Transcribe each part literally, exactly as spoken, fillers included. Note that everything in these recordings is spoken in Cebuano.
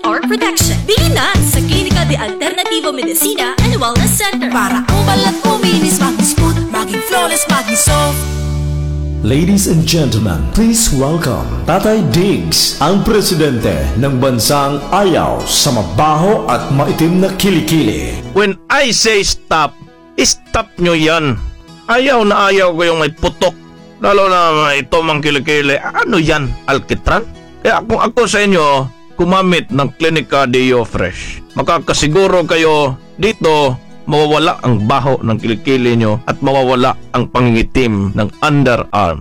R protection. Bili na sa Clinica de Alternativo Medicina and Wellness Center. Para ang balat kuminis, maging smooth, maging flawless, maging soft. Ladies and gentlemen, please welcome Tatay Diggs, ang presidente ng bansang ayaw sa mabaho at maitim na kilikili. When I say stop, stop nyo yan. Ayaw na ayaw ko yung may putok. Lalo na ito mang kilikili. Ano yan? Alkitran? Kaya kung ako sa inyo, gumamit ng Clinica Deo Fresh. Makakasiguro kayo dito, mawawala ang baho ng kilikili nyo at mawawala ang pangingitim ng underarm.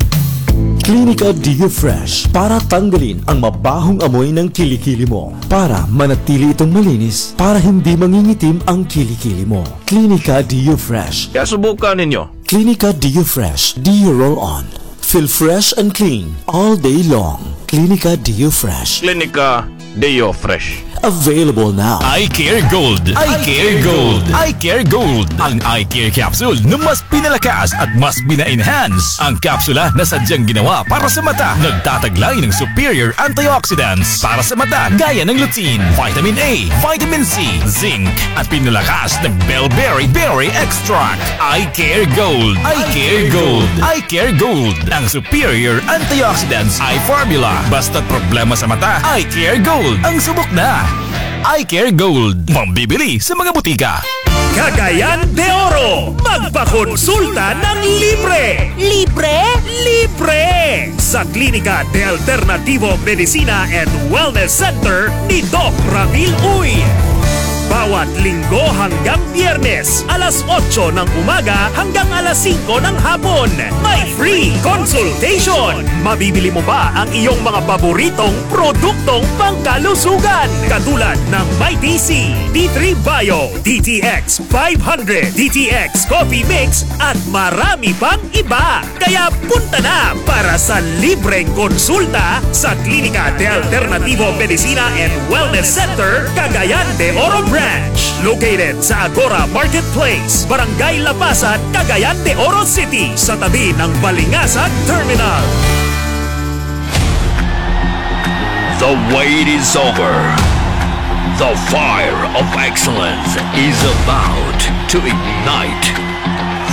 Clinica Dio Fresh para tanggalin ang mabahong amoy ng kilikili mo. Para manatili itong malinis, para hindi mangingitim ang kilikili mo. Clinica Dio Fresh. Kaya subukan ninyo. Clinica Dio Fresh. Dio Roll On. Feel fresh and clean all day long. Clinica Dio Fresh. Clinica Deo Fresh. Available now. I Care Gold. I Care Gold. I Care Gold. Ang I Care Capsule na mas pinalakas at mas bina-enhance. Ang kapsula na sadyang ginawa para sa mata. Nagtataglay ng superior antioxidants para sa mata gaya ng lutein, vitamin A, vitamin C, zinc at pinalakas ng bilberry berry extract. I Care Gold. I Care Gold. I Care Gold. Ang superior antioxidants eye formula. Basta't problema sa mata, I Care Gold. Ang subok na. I Care Gold. Mabibili sa mga butika. Cagayan de Oro, magpakonsulta ng libre! Libre? Libre! Sa Klinika de Alternativo Medicina and Wellness Center ni Doc Ramil Uy. Bawat Linggo hanggang Biyernes, alas otso ng umaga hanggang alas singko ng hapon. May free consultation! Mabibili mo ba ang iyong mga paboritong produktong pangkalusugan? Katulad ng Mighty C, D three Bio, D T X five hundred, D T X Coffee Mix at marami pang iba. Kaya punta na para sa libreng konsulta sa Klinika de Alternativo Medicina and Wellness Center, Cagayan de Oro Branch. Located sa Agora Marketplace, Barangay Lapasan, Cagayan de Oro City, sa tabi ng Balingasag Terminal. The wait is over. The fire of excellence is about to ignite.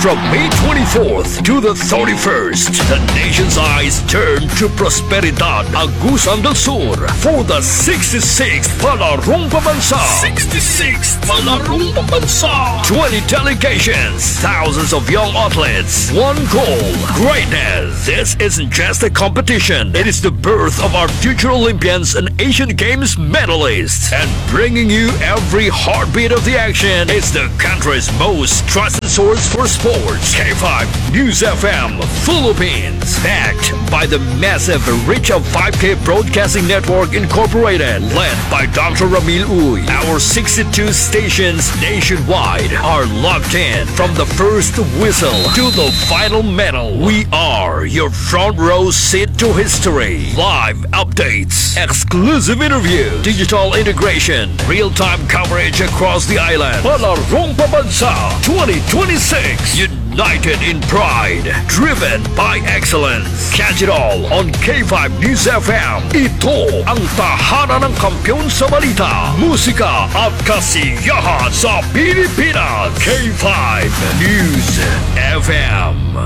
From May twenty-fourth to the thirty-first, the nation's eyes turn to Prosperidad, Agusan del Sur for the sixty-sixth Palarong Pambansa. sixty-sixth Palarong Pambansa. twenty delegations, thousands of young athletes, one goal, greatness. This isn't just a competition. It is the birth of our future Olympians and Asian Games medalists. And bringing you every heartbeat of the action is the country's most trusted source for sports. K five News F M Philippines. Backed by the massive reach of five K Broadcasting Network Incorporated. Led by Doctor Ramil Uy. Our sixty-two stations nationwide are locked in from the first whistle to the final medal. We are your front row seat to history. Live updates, exclusive interview, digital integration, real-time coverage across the island. Palarong Pambansa twenty twenty-six. United in pride, driven by excellence. Catch it all on K five News F M. Ito ang tahanan ng kampiyon sa balita, musika at kasiyahan sa Pilipinas. K five News F M.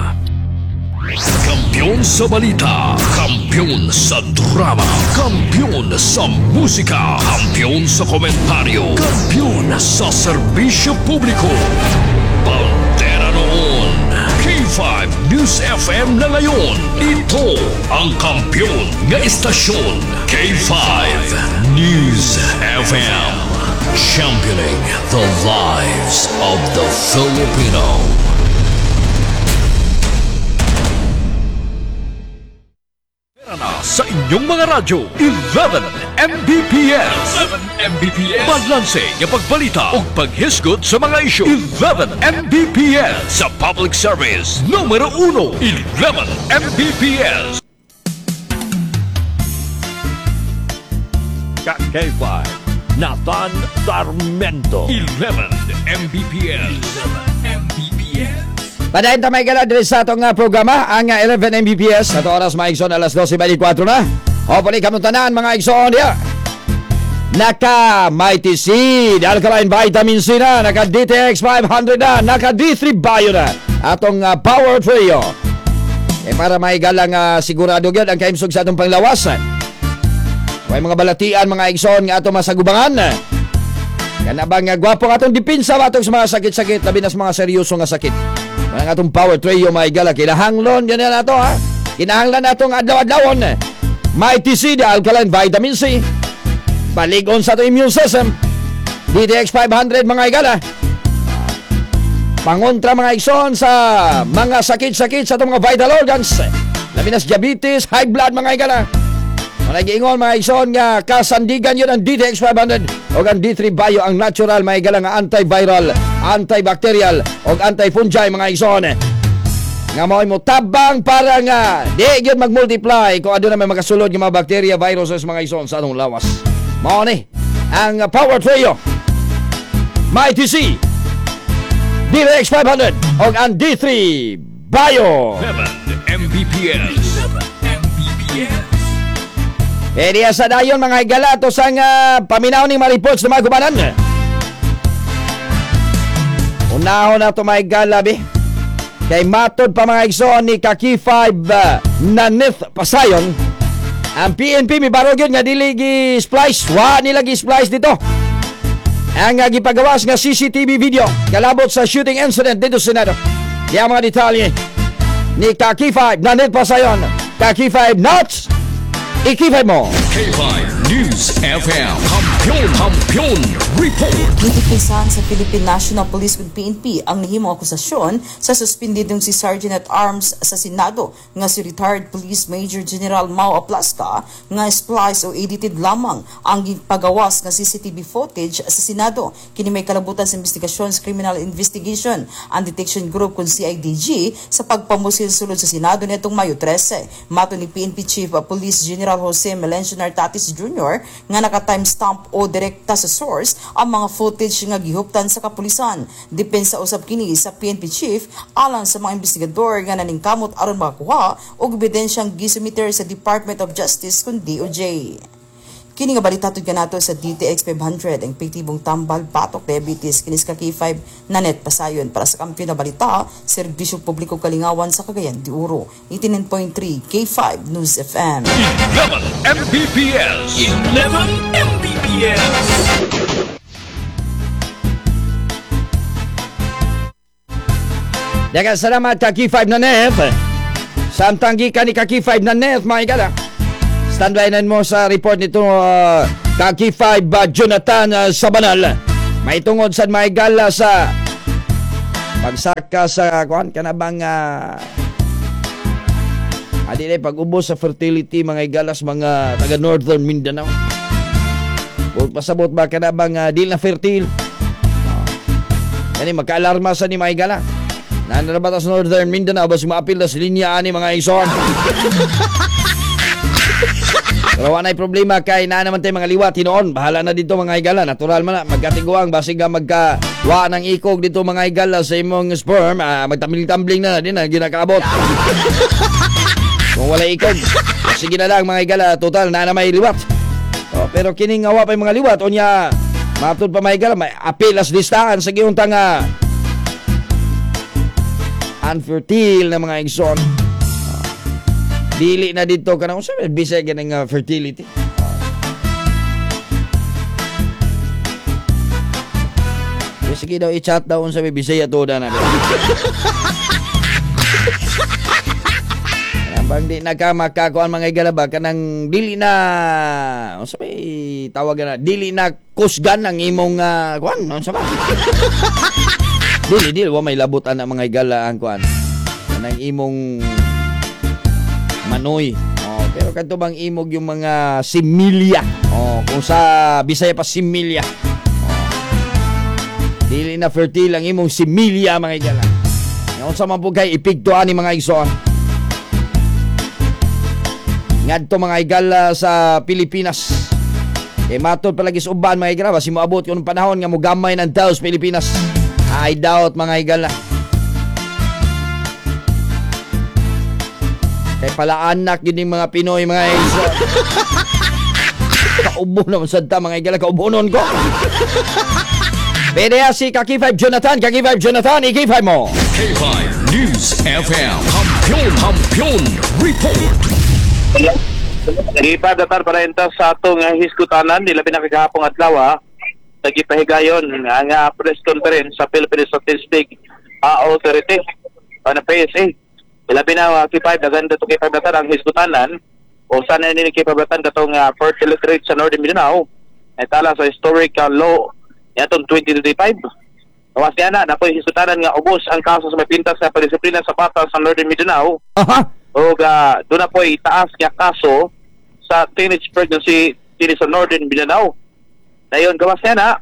Kampiyon sa balita, kampiyon sa drama, kampiyon sa musika, kampiyon sa komentaryo, kampiyon sa serbisyo publiko. Bandera noon, K five News F M na ngayon. Ito ang kampiyon nga istasyon. K five News F M. Championing the lives of the Filipino. Na sa inyong mga radyo, eleven M B P S, eleven M B P S. Balanse nga pagbalita ug paghisgot sa mga isyu, eleven M B P S. Sa public service numero uno, eleven M B P S. K five Nathan Sarmiento, eleven M B P S, eleven M B P S. Padayon ta may gala diri sa atong uh, programa ang uh, eleven M B P S ato oras mga igsoon, alas dose twenty-four na. Hopefully kamong tanan mga igsoon diya. Naka Mighty Seed, Alkaline Vitamin C na, naka D T X five hundred na, naka D three Bio na, atong uh, Power Trio. E para maigalang uh, sigurado gyud ang kaimsog sa atong panglawas. Way mga balatian mga igsoon nga atong masagubangan. Kana bang uh, gwapo ang atong depensa atong sa mga sakit-sakit, labi na sa mga seryoso nga sakit. Ang atong Power Trio maigala, kinahanglon yan na ato ha. Kinahanglan atong adlaw-adlawon. Mighty Seed, Alkaline Vitamin C. Baligon sa atong immune system. D T X five hundred mga igala. Pangontra mga igsoon sa mga sakit-sakit sa atong mga vital organs. Labi na sa diabetes, high blood mga igala. Mga giingon mga igsoon nga kasandigan yun ang D T X five hundred o ang D three Bio, ang natural mga igala nga antiviral, antibacterial o antifungi mga igsoon. Nga mao'y mo tabang para nga di gyud mag-multiply kung aduna may makasulod nga mga bacteria, viruses mga igsoon sa atong lawas. Mao ni ang Power Trio, Mighty C, D T X five hundred o ang D three Bio. eleven M B P S. M B P S. E diya sa dayon mga higala to sa uh, paminaw ni mga reports na mga gubanan. Unahon na ito mga higala bi. Kay matod pa mga igsoon ni Kaki five uh, Nanith Pasayon. Ang P N P mi barog yun nga dili gi-splice. Wa nila gi-splice dito. Ang uh, gipagawas nga C C T V video kalabot sa shooting incident dito sa Senado. Diya mga detalye ni Kaki five Nanith Pasayon. Kaki five Nuts! I-K five mo! K five News F M. Kampiyon, Kampiyon Report. Gitipisan sa Philippine National Police with P N P ang nahimong akusasyon sa suspendidong si Sergeant at Arms sa Senado nga si retired Police Major General Mao Aplasca nga splice o edited lamang ang gipagawas nga C C T V footage sa Senado. Kini may kalabutan sa investigasyon sa Criminal Investigation and Detection Group kun C I D G sa pagpamusil sulod sa Senado nitong Mayo trese. Mato ni P N P Chief Police General Jose Melencio Nartates Junior nga naka-timestamp o direkta sa source ang mga footage nga gihuptan sa kapulisan. Depensa usab kini sa P N P Chief alang sa mga investigador nga naningkamot aron makakuha og ebidensyang gisumiter sa Department of Justice kun D O J. Kini nga balita tud kanato sa D T X five hundred ang epektibong tambal batok diabetes kini sa K five Nanet Pasayon para sa kampiyon na balita serbisyo publiko kalingawan sa Cagayan de Oro. eighty-nine point three K five News F M. eleven M B P S. eleven M B P S. Daghang salamat ka K five Nanet. Samtang gikan ni ka K five Nanet mga igala. Standby na mo sa report nito uh, Kaki five uh, Jonathan uh, Sabanal. May tungod sa may gala sa pagsaka sa kuan kanabang uh, adi na pag-ubos sa fertility mga igalas mga taga Northern Mindanao. Bot pasabot ba kanabang uh, dili na fertile. Uh, kani magkaalarma sa ni mga igala. Nanarabat sa Northern Mindanao basi maapil na sa linya ani mga ison. Pero wala na'y problema kay naa naman tayo mga liwat hinoon. Bahala na dito mga higala. Natural man na. Magkatiguang basig ka magka wa ng ikog dito mga higala sa imong sperm. Ah, magtambling-tambling na na din na ginakaabot. Kung wala ikog, sige na lang mga higala. Total, naa na may liwat. Oh, pero kining awa pa yung mga liwat. O niya, matud pa mga higala, may apilas listahan sa giyong tanga. Unfertile na mga igsoon. Dili na dito ka na. Unsa may bisay ganing uh, fertility? Uh, sige daw, i-chat daw unsa may bisaya to na. Bang di na ka makakuan mga igala ba kanang dili na unsa may tawag na dili na kusgan ang imong uh, kuan unsa ba? Dili dili wa may labot ana mga igala ang kuan kanang imong manoy. Oh, pero kadto bang imog yung mga similya. Oh, kung sa Bisaya pa similya. Oh. Dili na fertile ang imong similya mga igala. Unsa man pud kay epekto ani mga igsoon. Ngadto mga igala sa Pilipinas. Kay matod palagi sa uban mga igala, basi moabot kun panahon nga mogamay ng tao sa Pilipinas. I doubt mga igala. Kay pala anak yun yung mga Pinoy mga igsoon. Kaubo naman sad ta mga igala kaubonon ko. Pwede si Kaki five Jonathan, Kaki five Jonathan, i-K five mo. K five News F M. Kampiyon, Kampiyon Report. K five datar para enta sa atong hisgutanan nila pinakagahapong adlaw nagipahigayon ang uh, press conference sa Philippine Statistics uh, Authority o na P S A. Ilabi na uh, K five daghan dato K five datar ang hisgutanan o sana ni K five datar katong uh, fertility rate sa Northern Mindanao ay tala sa historical low niadtong twenty twenty-five. Gawas niya na, napoy hisgutanan nga ubos ang kaso sa may pintas sa padisiplina sa bata sa Northern Mindanao. Aha. O uh, doon na po'y taas nga kaso sa teenage pregnancy dito sa Northern Mindanao. Dayon gawas niya na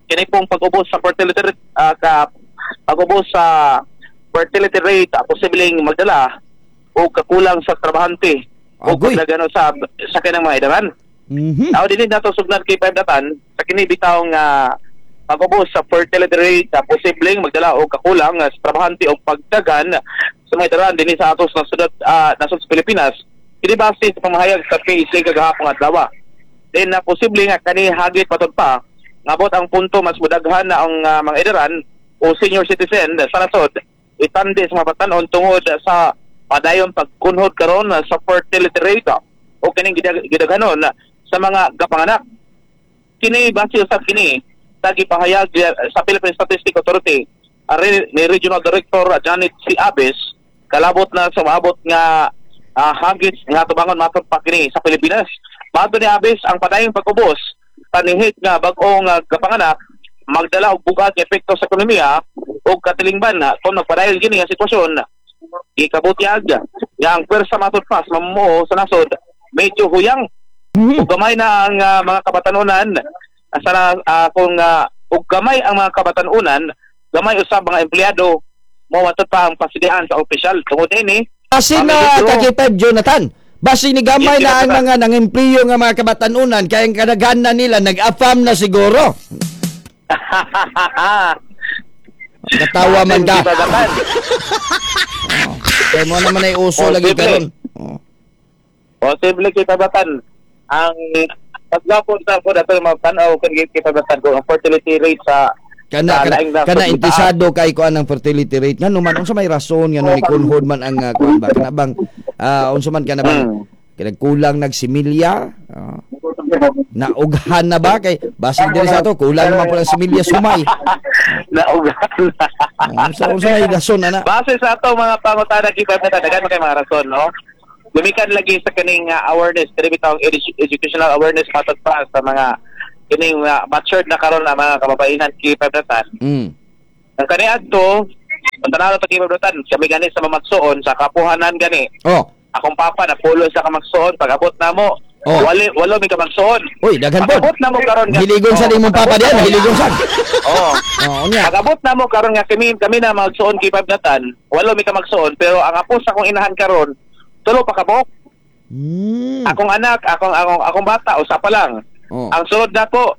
kini pong pag-ubos sa fertility rate, uh, ka, pag-ubos sa fertility rate uh, posibleng magdala o kakulang sa trabahante o paglagano sa sa kanang mga idaran. Mm-hmm. Now dinhi nato sugdan kay five datan sa kini bitawng uh, pag-ubos sa fertility rate uh, posibleng magdala og kakulang uh, sa trabahante o pagdagan sa mga idaran dinhi sa atos nasod uh, nasod sa Pilipinas. Kini base sa pamahayag sa P S A kagahapon adlaw. Then na uh, posible nga kani hagit patud pa ngabot ang punto mas mudaghan na ang uh, mga idaran o senior citizen sa nasod itandi sa mga batan-on tungod sa padayon pagkunhod karon uh, sa fertility rate o kining gidag- gidaghanon sa mga gapanganak. Kini base usab kini sa gipahayag sa Philippine Statistics Authority uh, ni Regional Director uh, Janet C. Abes kalabot na sa maabot nga uh, hagit nga tubangon matod pa kini sa Pilipinas. Mato ni Abes ang padayong pag-ubos panihit nga bag-ong uh, gapanganak magdala og bugat nga epekto sa ekonomiya ug katilingban na kung nagpadayon kini nga sitwasyon gikabutyag nga ang pwersa matod pa sa mamumuo sa nasod medyo huyang. Mm-hmm. Ug gamay na ang uh, mga kabatanunan sa uh, kung uh, ug gamay ang mga kabatanunan gamay usab mga empleyado mo matod pa ang pasidihan sa opisyal tungod ini. Asin na Kaki five Jonathan, basi ni gamay na ang mga nangempliyo nga mga kabatanunan kaya ang kadaghanan nila nag-afam na siguro. Natawa man ka. Oh, kaya mo naman ay uso lagi karon. Oh. Posible kita batan ang paglapon sa ko dato mga tan-aw kan kita batan ko ang fertility rate sa kana kana, kana intisado kay kuan ang fertility rate ngano man unsa may rason ngano ni kunhod man ang uh, kuan ba kana bang uh, unsa man kana bang hmm. Kinagkulang nagsimilya uh, naughan na ba kay basin diri sa ato kulang naman pala similya sumay. Naughan na. Unsa unsa may rason ana base sa ato mga pangutana kita na daghan man kay mga rason no. Gumikan lagi sa kaning uh, awareness kini bitawng edu- educational awareness matod pa sa mga kining uh, matured na karon na mga kababaihan K five datan. Mm. Ang kaniadto, pantanaw to K five datan, kami gani sa mamagsuon sa kapuhanan gani. Oh. Akong papa napulo sa kamagsuon pag-abot namo. Oh. Wali walo mi kamagsuon. Uy, daghan pod. Pag-abot namo karon nga. Hiligon sa imong papa diyan, hiligon sa. Oo. Oh, unya. Pag-abot namo karon nga kami kami na magsuon K five datan, walo mi kamagsuon pero ang apo sa akong inahan karon tulo pa kabok. Mm. Akong anak, akong akong akong bata usa pa lang. Oh. Ang sunod nako,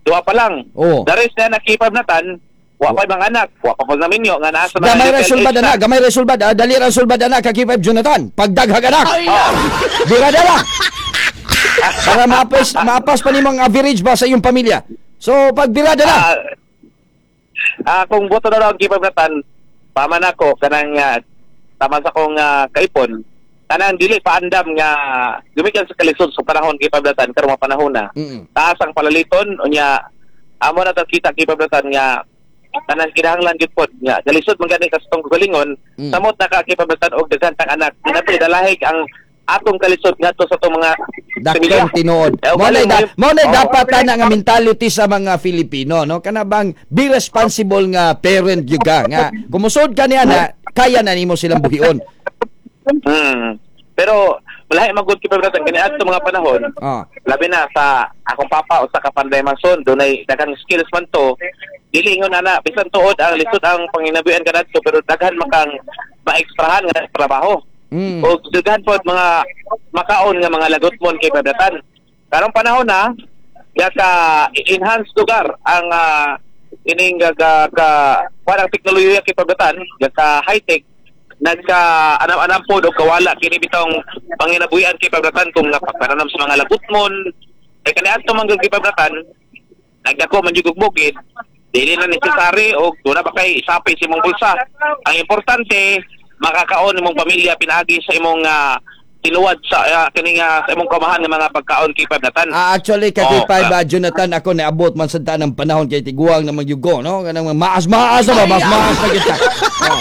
duha pa lang. Oh. The rest na nakipab natan, wa pa mga anak, wa pa pag naminyo nga naa sa mga gamay ra little sulbad age ana, gamay ra sulbad, ah, dali ra sulbad ana ka K five Jonathan. Pagdaghag anak. Oh. Dira dala. Para maapas maapas pa nimong average ba sa iyong pamilya. So pagbirada na. Ah, ah, kung boto na raw ang K five natan, paman ako kanang uh, tama sa akong uh, kaipon. Kanang dili paandam nga gumikan sa kalisod sa panahon K five datan karon mga panahon na. Mm-mm. Taas ang palaliton unya amo na ta kita K five datan nga kanang kinahanglan gyud pod nga kalisod man gani ka sa tong kagalingon Mm. samot na ka K five datan og daghan tang anak dinapil dalahig ang atong kalisod ngadto sa atong mga Dakong tinuod. Eh, Mo na da, galing, mo na oh. dapat ana nga mentality sa mga Filipino no kana bang be responsible nga parent gyud ka nga kumusod ka niya na kaya na nimo silang buhion. Mm. Pero malahi magud K five datan kani adto mga panahon. Ah. Labi na sa akong papa o sa kapanday mason dunay daghang skills man to. Dili ingon ana bisan tuod ang lisod ang panginabuhian kanadto pero daghan makang maekstrahan nga trabaho. Mm. O daghan pod mga makaon nga mga lagotmon kay pabratan. Karong panahon na gaka enhance lugar ang uh, ining ga ka parang teknolohiya kay pabratan gaka high tech nagka anam-anam po do kawala kini bitong panginabuhian kay pabratan kung napagpananam sa mga lagutmon Kay kaniadto man gyud gipabratan, nagdako man jud og bukid, dili na necessary og duna ba kay isapi sa imong bulsa. Ang importante makakaon imong pamilya pinaagi sa imong uh, tinuwad sa uh, kining uh, sa imong kamahan ng mga pagkaon kay Pablatan. Ah, actually kay Oh, K five uh, Jonathan ako naabot man sa ng panahon kay tiguang na magyugo no kanang maas-maas na ba maas-maas na kita. Oh.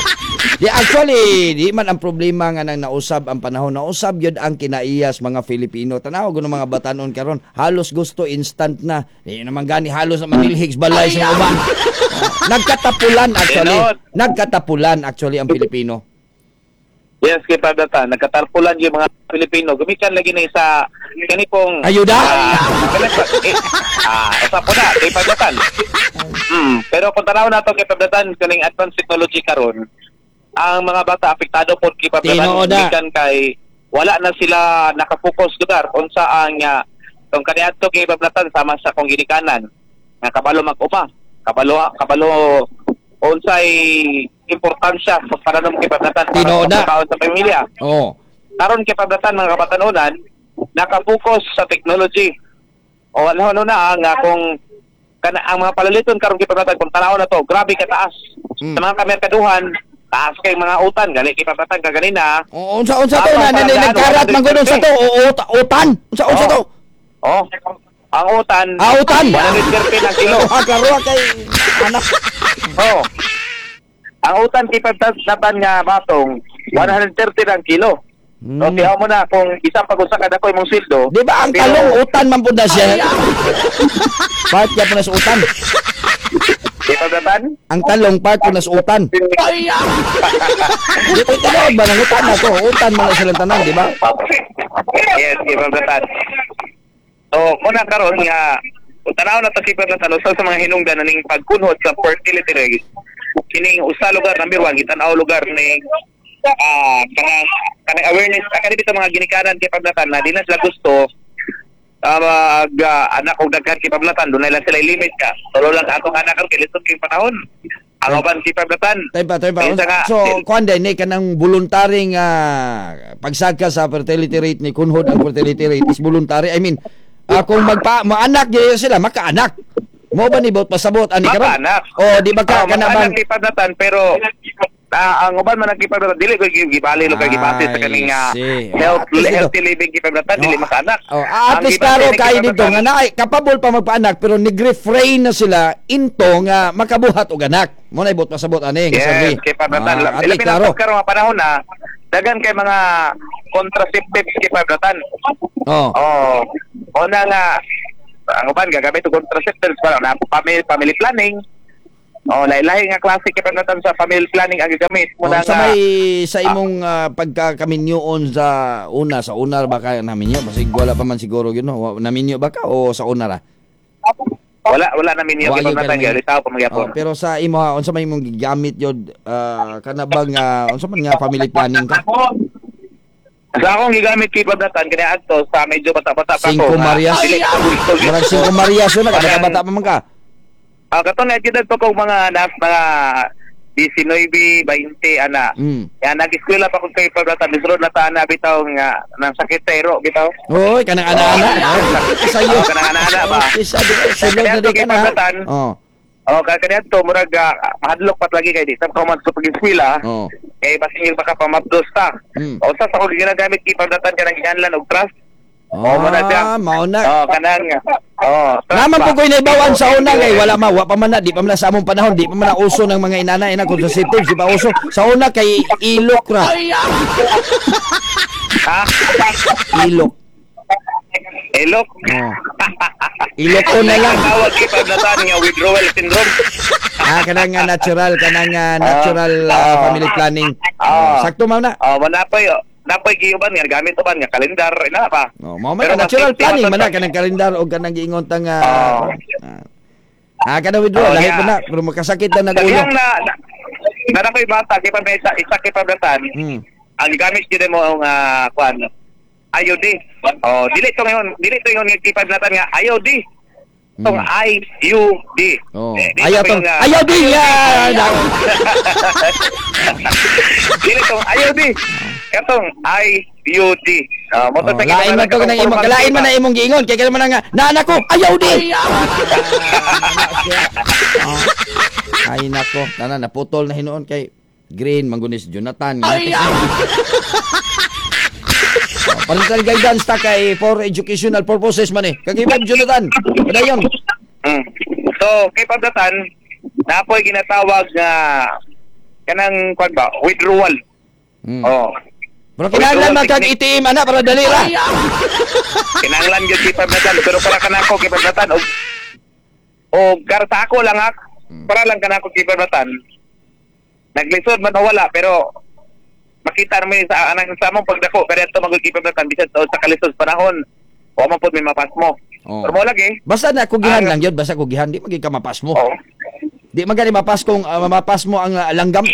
Di actually di man ang problema nga nang nausab ang panahon, nausab gyud ang kinaiyas mga Filipino. Tanaw gud mga batanon karon halos gusto instant na. Di naman gani halos na manilhig balay sa uban. Oh. Nagkatapulan actually. Nagkatapulan actually ang Pilipino. Yes, kay Pablatan, nagkatarpulan yung mga Pilipino. Gumikan lagi na isa kani pong ayuda. Ah, uh, usa po na kay Pablatan. Hmm, pero kung tanaw nato kay Pablatan kaning advanced technology karon, ang mga bata apektado pod kay Pablatan gumikan kay wala na sila nakapokus lugar unsa ang uh, tong kaniadto kay Pablatan sama sa kong ginikanan nga kabalo mag-uma, kabalo kabalo unsay importansya sa pananom kay Pablatan para sa pagkaon sa pamilya. Oo. Karon kay Pablatan mga kabatanunan nakapokus sa technology. O ano ano na nga kung kana ang mga palaliton karon kay Pablatan kung tanaw na to, grabe kataas. Mm. Sa mga kamerkaduhan, taas kay mga utan gali kay Pablatan kaganina. Oo, unsa unsa to na nagkarat man gud unsa to o utan. Unsa unsa to? Oh. Ang utan. Ah, utan. one hundred thirty ang kilo. Ah, klaro kay anak. Oh. Ang utan kay Pablatan nga batong one hundred thirty ang kilo. Hmm. So tiyaw mo na kung isang pag-usa kada ko imong sweldo. Di ba ang talong utan man pud na siya? Part ya po na sa utan. Di Pablatan? Ang talong part po na sa utan. Di ba tinuod ba ng utan na to? Utan man na silang tanan, di ba? Yes, di Pablatan. So, muna karon nga kung tanaw na to si Pablatan usa sa mga hinungdan na ning pagkunhod sa fertility rate. Kining usa lugar number one gitan-aw lugar ni ah uh, kanang kanang awareness ah, kani bitaw mga ginikanan kay Pablatan na di na sila gusto uh, mag uh, anak og daghan kay Pablatan dunay lang sila limit ka. Tulo lang atong anak karon kay lisod kay panahon. Ang uban kay Pablatan. Taypa taypa. So kuan din ni kanang voluntaryng uh, pagsaka sa fertility rate ni kunhod ang fertility rate is voluntary. I mean, uh, kung magpa maanak gyud sila makaanak. Mo ba ni bot pasabot ani karon? O di ba ka oh, kana bang kay Pablatan pero uh, ang uban man ang kay Pablatan dili ko gibali lo kay gibase sa kaning uh, health healthy living kay Pablatan dili makaanak. Oh, at least klaro kay dito nga naay kapabol pa magpaanak pero nag-refrain na sila into nga makabuhat og anak. Mo na ibot pasabot ani nga yes, kay Pablatan. Ah, labi na karon nga panahon na dagan kay mga contraceptives kay Pablatan. Oh. Oh. Una nga ang uban gagamit og contraceptives para na family, family planning. Oh, lahi-lahi nga klase kay Pablatan sa family planning ang gigamit mo oh, na sa may sa imong uh, pagkakaminyoon sa una sa una ba ka naminyo basig wala pa man siguro gyud no naminyo ba ka o sa una ra? Wala wala naminyo kay Pablatan gyud tawo pa magyapon. Oh, pero sa imo ha unsa may imong gigamit gyud uh, kana bang uh, unsa man nga family planning ka? Sa akong gigamit kay Pablatan kani adto sa medyo bata-bata pa ko. Cinco Marias. Murag Cinco Marias yun, bata-bata pa man ka. Ah, uh, kato na edad pa kog mga nas mga nineteen, twenty ana. Mm. Ya nag-eskwela pa kog kay Pablatan misro na ta ana bitaw nga nang sakit sa iro bitaw. Oy, kanang ana-ana. Sayo. Oh, kanang ana-ana ba. Sulod na di ka na. Oh. Oh, kay kaniadto murag uh, mahadlok pat lagi kay di sa ko man sa pag-eskwela. Oh. Kay basin baka pamabdos ta. Mm. O sa ako ginagamit kay Pablatan kanang gianlan og trust. Oh, oh, na siya. Mao na. Oh, kanang oh, naman po ko'y naibawan sa una kay wala ma, wa pa man na, di pa man na sa among panahon, di pa man na uso ng mga inana ina contraceptives, di pa uso. Sa una kay ilok ra. Ha? Ilok. Ilok. Oh. Ilok ko na lang. Tawag kay Pablatan nga withdrawal syndrome. Ah, kanang nga natural, kanang nga natural uh, uh, family planning. Uh, Sakto mao na. Oh, uh, wala pa yo. Napoy giuban nga gamit uban nga kalendar ina pa. Oh, mao man natural planning man na kanang kalendar og kanang giingon ta nga uh, ah kanang withdrawal oh, lahi yeah. pa na pero makasakit na nag ulo. Na na, na koy bata kay pa isa isa kay Pablatan. Hmm. Ang gamit gyud mo ang uh, kuan I U D. Oh, dili to ngayon, dili to ingon nga kay Pablatan nga I U D. Tong Hmm. I U D. Oh. Eh, Ayaw tong ayaw D. Yeah. Dili tong I U D. Katong I U D. Uh, mo Oh, lain man to kanang imong kalain man na imong giingon kay man nga naanak ko ayaw di. Oh. Ay nako, nana naputol na hinuon kay green manggunis Jonathan. Ay. Oh, parental guidance ta kay for educational purposes man eh. Kagibab Jonathan. Padayon. Mm. So, kay Pablatan, napoy ginatawag nga kanang kwan ba, withdrawal. Mm. Oh. Pero kinahanglan man kag A T M ana para dali ra. Kinahanglan gyud kay Pablatan, pero para kanako kay Pablatan og og karta ako lang ak, para lang kanako kay Pablatan. Naglisod man o wala, pero makita naman sa anang sa among pagdako kaya ito magud kay Pablatan bisan sa sa kalisod panahon wa man pud may mapas mo. Oh. Pero mo lagi. Basta na kugihan lang yun, basta kugihan di magig ka mapas mo. Oh. Di man gani mapas kung uh, mapas mo ang uh, langgam.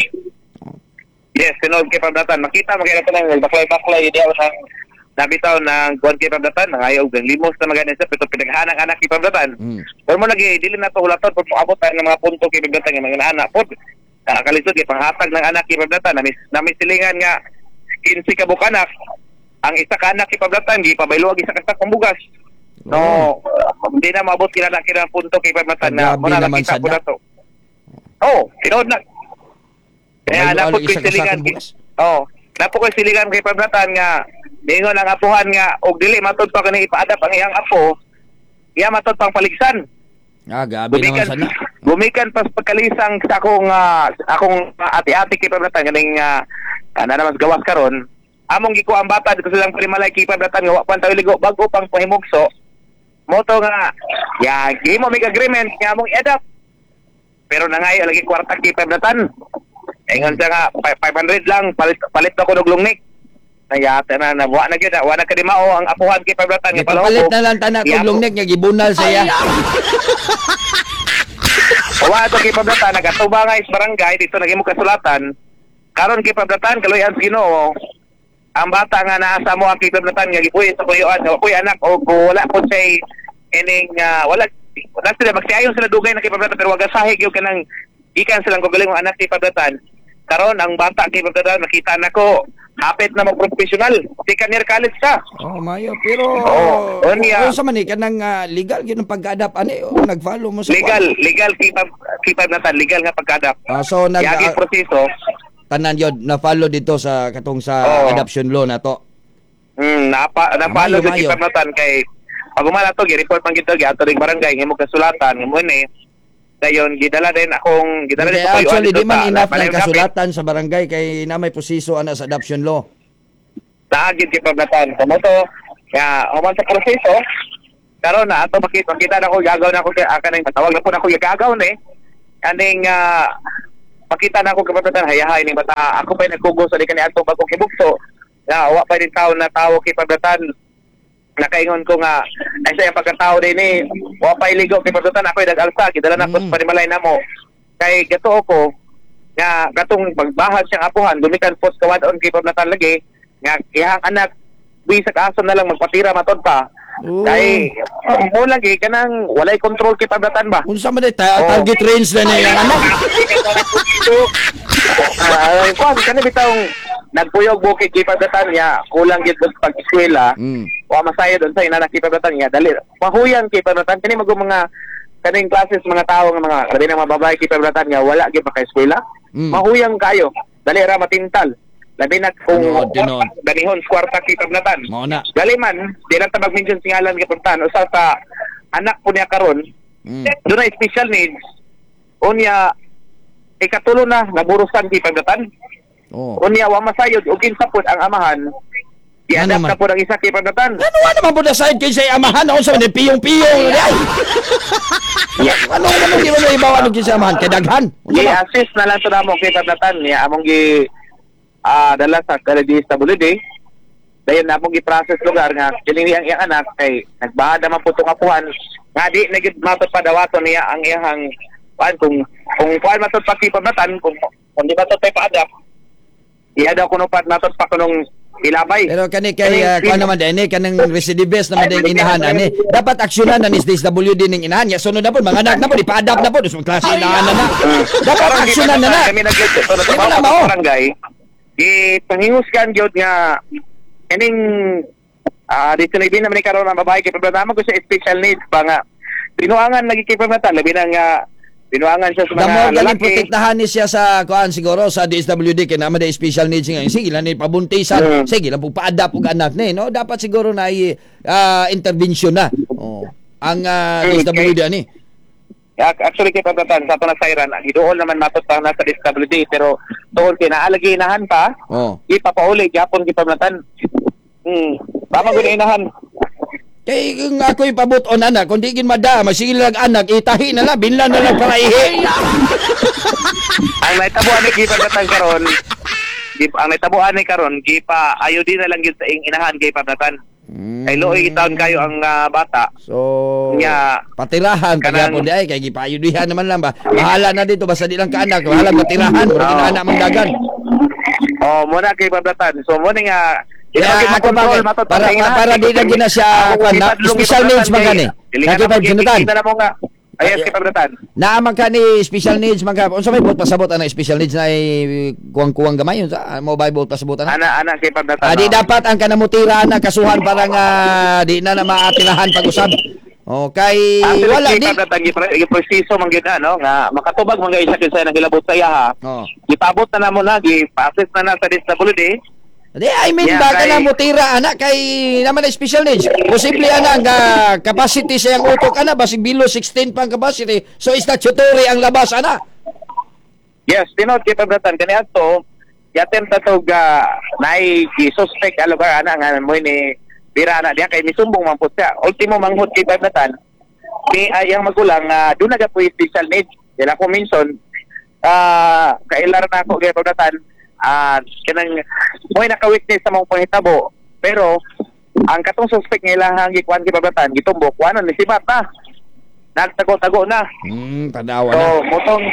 Yes, tinuod kay Pablatan. Makita makita ko lang baklay-baklay di ako nang nabitaw ng kuan kay Pablatan, nangayo og limos na magani sa pero pinaghanang anak kay Pablatan. Mm. Pero mo lagi dili na to hulaton pag moabot tayo ng mga punto kay Pablatan nga mga anak pod. Nakakalisod kay panghatag ng anak kay Pablatan. Nami nami silingan nga kinse ka buok anak. Ang isa ka anak kay Pablatan gipabaylo ang isa ka sakong bugas. No, uh, hindi na maabot kila na kila punto kay Pablatan na Grabe mo na naman nakita sa ko na to. Oh, tinuod na. Kaya Pabaylo napod ang ko isa ka silingan. sakong bugas. Oh, napod ko silingan kay Pablatan nga ningon ang apuhan nga og dili matud pa kani ipa-adapt ang iyang apo. Iya matud pang paligsan. Ah, gabi naman Gumikan sana. gumikan pas pagkalisang sa akong ah, akong ah, ati-ati kay Pablatan kaning uh, na naman gawas karon. Among gikuha ang bata dito silang panimalay kay Pablatan nga wa pa tayo ligo bago pang pahimugso. Moto nga ya gimo mig agreement nga among i-adapt. Pero nangayo lagi kwarta kay Pablatan. Ingon siya nga fi- five hundred lang palit palit ako og longneck. Nayata na na wa na gyud na wa na kadimao ang apuhan kay Pablatan nga Gipapalit na lang tanak og Iya, longneck nga gibunal sa iya. Wa ato kay Pablatan nagatubang nga is barangay dito nagimo kasulatan. Karon kay Pablatan kaluyan sa Ginoo. Ang bata nga naa sa mo ang kay Pablatan nga gipuyo sa puyoan wa koy anak o kung wala po say ining ah, wala wala sila magsiayon sila dugay na kay Pablatan pero wag sahig yung kanang gikan silang kagaling anak kay Pablatan. Karon ang bata kay Pablatan makita nako hapit na mag-professional. Second year college ka. Oh, mayo pero Oo, unya. unsa man ni kanang ah, legal gyud ang pag-adapt ani o nag-follow mo sa Legal, legal kay Pab kay Pablatan, legal nga pagka-adapt. Ah, so nag Yagi ah, proseso. Tanan yod na follow dito sa katong sa Oo. adoption law na to. Mm, napa napalo Mayo, sa mayo. Pablatan kay pag umala to gi-report man gito giato ring barangay ngimo kasulatan ngimo ni dayon gidala din akong gidala din Kaya sa tuyuan actually dito di man sa- enough ng Balay Kapit. kasulatan sa barangay kay na may proseso ana sa adoption law. Naagid kay Pablatan so mo to kaya human sa proseso karon na ato makita makita na ko gagaw na ko kay aka nang matawag na po na ko gagaw ni kaning uh, makita na ko kay Pablatan hayahay ning bata ako pa nagkugo sa di kani atong bagong hibugso na wa pa din taon na tawo kay Pablatan. Nakaingon ko nga ay sa iyang pagkatao din eh wa pa iligo kay Pablatan ako nag-alsa gidala na ko sa Mm. panimalay namo kay gatuo ko nga katong pagbahag siyang apuhan gumikan pos kawadon kay Pablatan lagi nga iyang anak bisag aso na lang magpatira matod pa. Oo. Kay mo lagi kanang walay control kay Pablatan ba. Unsa man di ta- Oo. target range na niya ang anak. Ah, kuan kani bitawng nagpuyog bukid kay Pablatan niya kulang gid sa pag-eskwela. Mm. Wa masayod unsa ina kay Pablatan niya dali mahuyan kay Pablatan kani mago mga kaning classes mga tao nga mga labi na mga babae kay Pablatan nga wala gyud maka-eskwela. Mm. Mahuyang kayo dali ra matintal labi na kung Tinuod, tinuod. danihon kwarta kay Pablatan. Mao na. Gali man di lang ta mag-mention sa ngalan kay Pablatan usa sa anak po niya karon Mm. doon na special needs unya ikatulo na naburusan kay Pablatan. Oh. Unya wa masayod og kinsa pod ang amahan Ano i-adapt man? na pod ang isa kay Pablatan. Ano wa naman po na side kay sa amahan unsa man ni piyong-piyong ni ay. Ano ano di man ibaw ano kay sa amahan kay daghan. Unsa ba? I-assist na lang to namo kay Pablatan niya among gi ah, dala sa D S W D dayon na among gi-process lugar nga kini ang iyang anak kay nagbahad naman po tong apuhan nga di na gyud matod padawaton niya ang iyang kuan kung kung kuan matod pa kay Pablatan kung kung di matod pa pa-adapt iya daw kuno pat matod pa kunong ilabay. Pero kani kay uh, kuan naman din kanang recidivist naman din inahan ani. Dapat aksyonan na ni D S W D ning inahan. Ya sunod na po mga anak na po ipa-adapt na po dus klase inahan na na. Dapat Karon, aksyonan na na. kami nag Di ba na sa mao? barangay. Gipangingusgan gyud nga kining ah dito na naman ni karon ang babae kay problema ko sa special needs ba nga binuangan lagi kay Pablatan, labi na nga binuangan siya sa The mga more galing lalaki. Protektahan ni siya sa kuan siguro sa D S W D kay naman di special needs nga. Sige lang ni pabuntisan, Mm. sige lang pa-adapt og anak ni, no? Dapat siguro na i ah, intervention na. Oh. Ang ah, Mm, D S W D ani. Ac- Actually kay Pablatan sa ato na sayran, giduol naman matot pa na sa D S W D pero tuol kay naalagi inahan pa, Oh. ipapauli gyapon kay Pablatan. Hmm. Tama gud inahan. Kay kung ako'y pabuton anak, kung di gin mada, masigil lang anak, itahi na lang, binlan na lang para ihi. Ang nahitabo ani kay Pablatan karon, gi- ang nahitabo ani karon gipa ayo din na lang gyud sa ing inahan kay Pablatan. Kay luoy gitaon kayo ang ah, bata. So, Nya, patirahan, kanang- kaya po di ay, kay gipayudihan naman lang ba. Bahala na dito, basta di lang kaanak, bahala patirahan, mura Oo. ginaana mang dagan. Oh, muna kay Pablatan. So mo ni nga Kaya ako ba, para, para di na gina siya, kuan na, special needs man gani. Kaki pa, Jonathan. Kita na mo nga. Ayos kay Pablatan. Naaman ka ni special needs man ka. Unsa may buot pasabot ana special needs na ay kuwang-kuwang gamay unsa mo ba buot pasabot ana? Ana ana kay Pablatan. Ah, di oh. dapat ang kanamutira na kasuhan para nga di na na maatirahan pag-usab. Okay, Actually, wala kay di. Pablatan gi proseso man gyud na no nga makatubag man gyud siya kinsa nang gilabot sa iya ha. Oh. Gipabot na namo na gi-process na na sa D S W D. Di, I mean Yeah, ba kay- kana mutira ana kay naman na special needs. Posible ana ang ah, capacity sa iyang utok ana basig below sixteen pa ang capacity. So statutory ang labas ana. Yes, tinuod kay Pablatan kani adto yatem ta tog uh, naay gi-suspect a lugar ana nga mo ni bira ana diya kay misumbong man pud siya. Ultimo manghud kay Pablatan ni ay ang magulang uh, doon na po special needs. Dila ko minsan ah kailar na ako kay Pablatan ah kanang mo'y naka-witness sa mga panghitabo pero ang katong suspect nga ilahang gikuan kay Pablatan gitumbok kuanon ni sibat na nagtago-tago na. Hmm, tanawa So, na. motong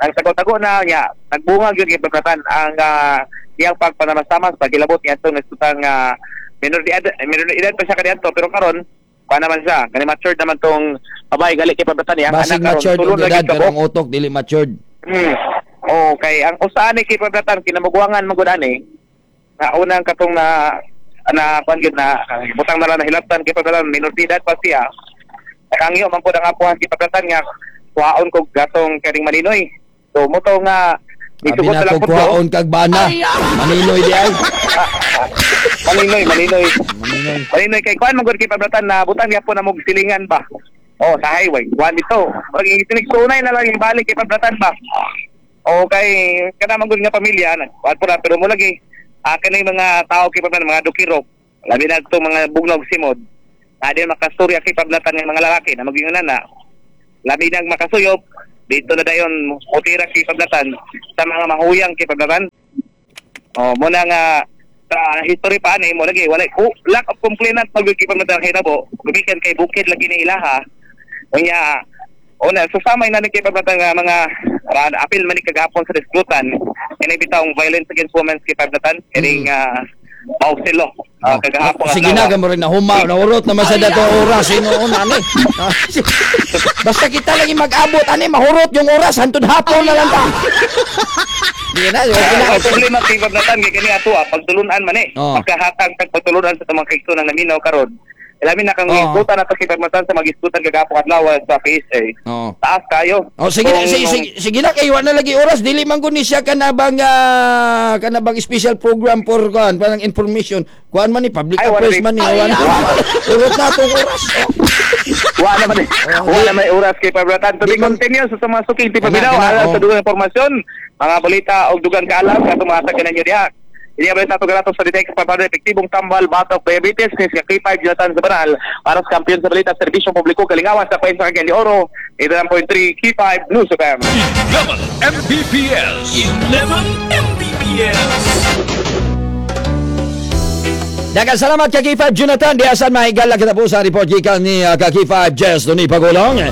nagtago-tago na niya, nagbunga gyud kay Pablatan ang uh, iyang pagpanamastamas pagilabot niya atong nasutang uh, minor de edad, minor de edad pa siya kaniadto pero karon pa naman siya, kani matured naman tong babae gali kay Pablatan niya, ang Basig anak karon matured tulo og na edad gyud pero kabuok. ang utok dili matured. Hmm. Okay, ang usaan ni kay Pablatan kinamugwangan man gud ani. Na unang katong na na kuan gyud na butang na lang na hilabtan kay Pablatan minor de edad pa siya. Nakangyo man pud ang apuhan kay Pablatan nga kuhaon kog gatong kaning Maninoy. So mo to nga Abi isugot na na lang ko pud ko. kuhaon kag bana. Maninoy di ay. Maninoy, Maninoy. Maninoy. Maninoy kay kuan man gud kay Pablatan na butang gyapon na mog silingan ba. Oh, sa highway. Kuan dito. Murag sinigsunay na lang yung balik kay Pablatan ba. O kay kana man gud nga pamilya na kuan po na pero mo lagi ah kani mga tao kay Pablatan mga dukiro. Labi na itong mga bugnog simod. Na di makastorya kay Pablatan ng mga lalaki na magyunan na. Labi nang makasuyop dito na dayon utira kay Pablatan sa mga mahuyang kay Pablatan. Oh, muna nga sa history pa ani mo lagi wala ku, lack of complainant pag kay Pablatan hitabo. Gumikan kay bukid lagi ni ilaha. Unya una so samay na ni kay Pablatan nga mga ra, apil man ni kagahapon sa diskutan kini bitawng violence against women kay Pablatan kining uh, mausilo uh, kagahapon Sige na, gamo rin na huma, naurot naman sa dato oras hinuon ani. Basta kita lagi mag-abot ani mahurot yung oras hantod hapon na lang ta. Di na, okay na. Ang problema kay Pablatan kay kani ato ah, pagtulunan man eh. Oh. Pagkahatag kag pagtulunan sa tumang kaigsoon ang naminaw karon. Ilamin na kang Oh. isgutan ato kay Pablatan sa magisgutan kagahapon adlaw sa P S A. Oh. Taas kayo. Oh, sige, Kung- sige, sige, sige na kay wala na lagi oras dili man gud ni siya kanabang ah, kanabang special program for kuan parang information kuan man ni public Ay, wala affairs rin. man ni wala. Urot na atong oras. Oh. Wala naman eh. Wala naman oras kay Pablatan. To be continue sa mga suking tipaminaw Kana, kana, alang oh. sa dugang impormasyon, mga balita og dugang kaalam katong mga taga ninyo diha. Ini ang balita ato sa D T X Pampanga, epektibong tambal batok diabetes ni sa K five Jonathan sa Banal para sa kampiyon sa balita serbisyo publiko kalingawan sa Pwensa Cagayan de Oro eighty-nine point three K five News F M. eleven M B P S. eleven M B P S. Daghang salamat ka K five Jonathan. Di asan mahigala kita po sa report gikan ni uh, ka K five Jess Doni Pagulong.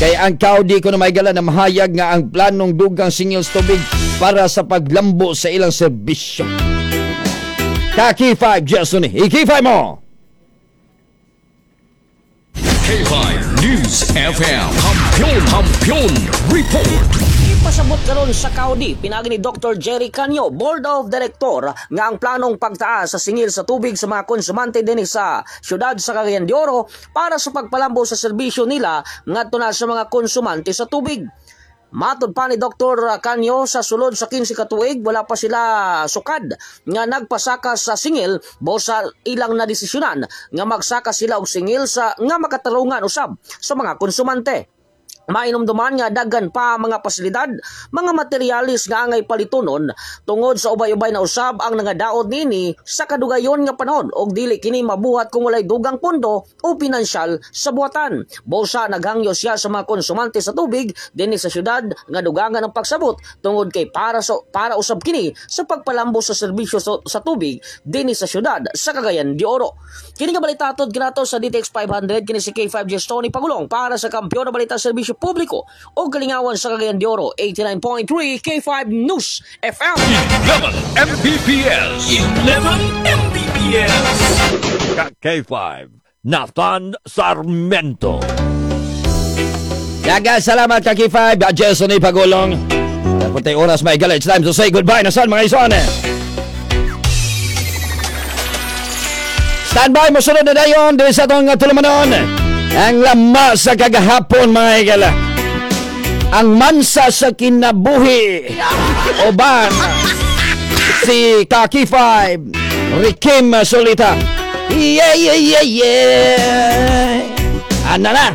Kay ang kaudi ko na mahigala na mahayag nga ang planong dugang singil sa tubig para sa paglambo sa ilang serbisyo. Ka K five Jess Doni, i-K five mo! K five News F M. Kampiyon, Kampiyon Report. Gipasabot karon sa Kaudi pinagi ni Doctor Jerry Canyo, Board of Director, nga ang planong pagtaas sa singil sa tubig sa mga konsumante dinhi sa siyudad sa Cagayan de Oro para sa pagpalambo sa serbisyo nila ngadto na sa mga konsumante sa tubig. Matod pa ni Doctor Canyo, sa sulod sa kinse ka tuig wala pa sila sukad nga nagpasaka sa singil busa ilang nadesisyonan nga magsaka sila og singil sa nga makatarungan usab sa mga konsumante. Mainumduman nga daghan pa mga pasilidad, mga materialis nga angay palitunon tungod sa ubay-ubay na usab ang nangadaot nini sa kadugayon nga panahon og dili kini mabuhat kung walay dugang pondo o pinansyal sa buhatan. Busa naghangyo siya sa mga konsumante sa tubig dinhi sa syudad nga dugangan ang pagsabot tungod kay para sa para usab kini sa pagpalambo sa serbisyo sa, sa tubig dinhi sa syudad sa Cagayan de Oro. Kini nga balita atod kinato sa D T X five hundred, kini si K five G Tony Pagulong para sa kampiyon na balita, serbisyo publiko o kalingawan sa Cagayan de Oro, eighty-nine point three K five News F M. eleven M B P S. eleven M B P S. K five, Nathan Sarmiento. Daga salamat ka K five, Jason A. Pagulong. Dapat tayo oras may gala. It's time to say goodbye na saan mga ison. Stand by, mosunod na dayon din sa atong tulumanon. Ang lama sa kagahapon mga higala. Ang mansa sa kinabuhi. Oban si Kaki five Rikim Solita. Yeah, yeah, yeah, yeah. Ana na.